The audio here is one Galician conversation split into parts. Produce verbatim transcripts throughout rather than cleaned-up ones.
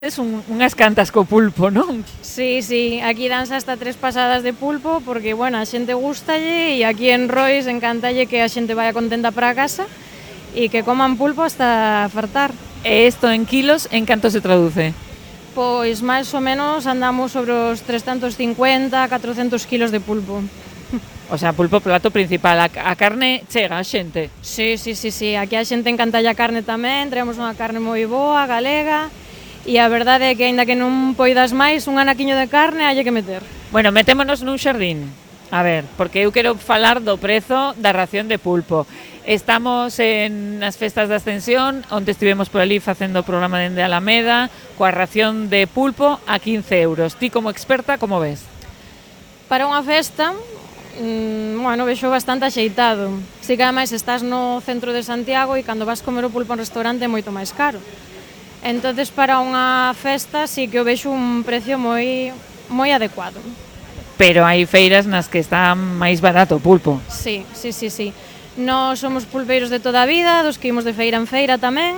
Es un, unhas cantas co pulpo, non? Sí, sí, aquí danse hasta tres pasadas de pulpo porque, bueno, a xente gustalle e aquí en Rois encantalle que a xente vaya contenta para casa e que coman pulpo hasta fartar. E isto en kilos, en canto se traduce? Pois máis ou menos andamos sobre os trescentos cincuenta, catrocentos kilos de pulpo. O sea, pulpo plato principal, a, a carne chega a xente. Sí, sí, sí, sí, aquí a xente encantalle a carne tamén, traemos unha carne moi boa, galega, e a verdade é que, aínda que non poidas máis, un anaquiño de carne halle que meter. Bueno, metémonos nun xardín. A ver, porque eu quero falar do prezo da ración de pulpo. Estamos en as festas da Ascensión, onde estivemos por ali facendo o programa dende Alameda, coa ración de pulpo a quince euros. Ti, como experta, como ves? Para unha festa, mmm, bueno, vexo bastante axeitado. Si que ademais estás no centro de Santiago e cando vas comer o pulpo a un restaurante é moito máis caro. Entonces, para unha festa, sí que o vexo un precio moi moi adecuado. Pero hai feiras nas que está máis barato o pulpo. Sí, sí, sí, sí. Nós somos pulpeiros de toda a vida, dos que imos de feira en feira tamén,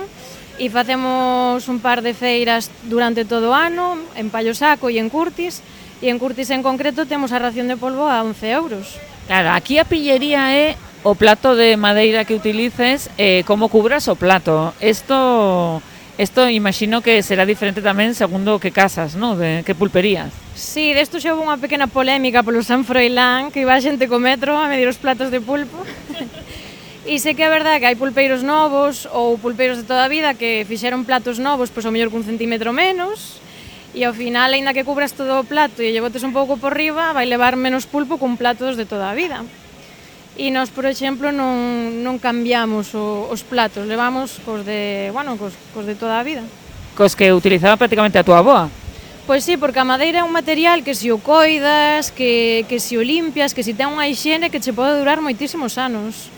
e facemos un par de feiras durante todo o ano, en Pallo Saco e en Curtis, e en Curtis en concreto temos a ración de polvo a once euros. Claro, aquí a pillería é o plato de madeira que utilices, eh, como cubras o plato. Isto... Isto imagino que será diferente tamén segundo que casas, ¿no? De que pulperías. Sí, desto xa houve unha pequena polémica polo San Froilán, que iba a xente co metro a medir os platos de pulpo. E sei que é verdade que hai pulpeiros novos ou pulpeiros de toda a vida que fixeron platos novos, pois ao mellor cun centímetro menos, e ao final, aínda que cubras todo o plato e lle botes un pouco por riba, vai levar menos pulpo cun platos de toda a vida. E nós, por exemplo, non, non cambiamos o, os platos, levamos cos de, bueno, cos, cos de toda a vida. Cos que utilizaba prácticamente a túa avoa. Pois sí, porque a madeira é un material que se o coidas, que, que se o limpias, que se ten unha hixiene que che pode durar moitísimos anos.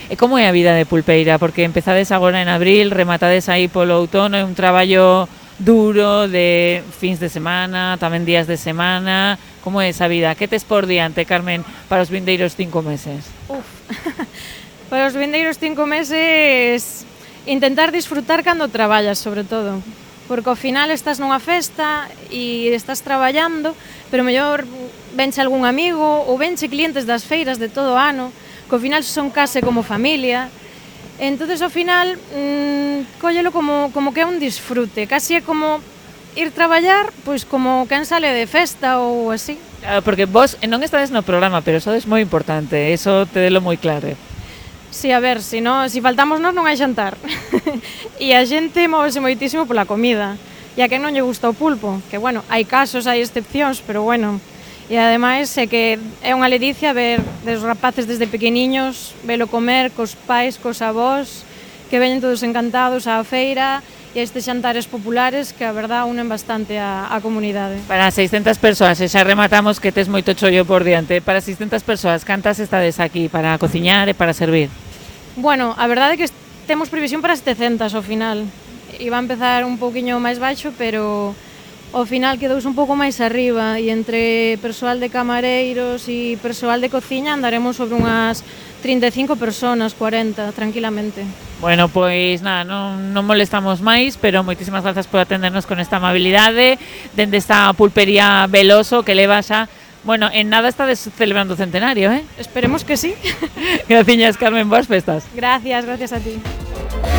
E como é a vida de pulpeira? Porque empezades agora en abril, rematades aí polo outono, é un traballo duro de fins de semana, tamén días de semana. Como é esa vida? Que tes por diante, Carmen, para os vindeiros cinco meses? Uf, para os vindeiros cinco meses intentar disfrutar cando traballas, sobre todo. Porque ao final estás nunha festa e estás traballando, pero mellor venche algún amigo ou venche clientes das feiras de todo o ano, que ao final son case como familia. Entonces, ao final, mmm, cóllelo como, como que é un disfrute, casi é como ir traballar, pois como quen sale de festa ou así. Claro, porque vos non estades no programa, pero sodes moi importante, eso te delo moi claro. Si, a ver, si, no, si faltamos nós non hai xantar. E a xente móvese moitísimo pola comida. E a quen non lle gusta o pulpo, que, bueno, hai casos, hai excepcións, pero, bueno. E ademais é que é unha ledicia ver des rapaces desde pequeniños, velo comer cos pais, cos avós, que veñen todos encantados á feira e estes xantares populares que a verdad unen bastante a, a comunidade. Para seiscentas persoas, e xa rematamos que tes moito chollo por diante, para seiscentas persoas, cantas estades aquí para cociñar e para servir? Bueno, a verdade é que temos previsión para setecentas ao final. Iba a empezar un pouquiño máis baixo, pero ao final quedouse un pouco máis arriba e entre persoal de camareiros e persoal de cociña andaremos sobre unhas trinta e cinco personas, cuarenta, tranquilamente. Bueno, pois nada, non, non molestamos máis, pero moitísimas grazas por atendernos con esta amabilidade dende esta pulpería Veloso que leva xa, bueno, en nada estades celebrando o centenario, eh? Esperemos que sí. Graciñas, Carmen, boas festas. Gracias, gracias a ti.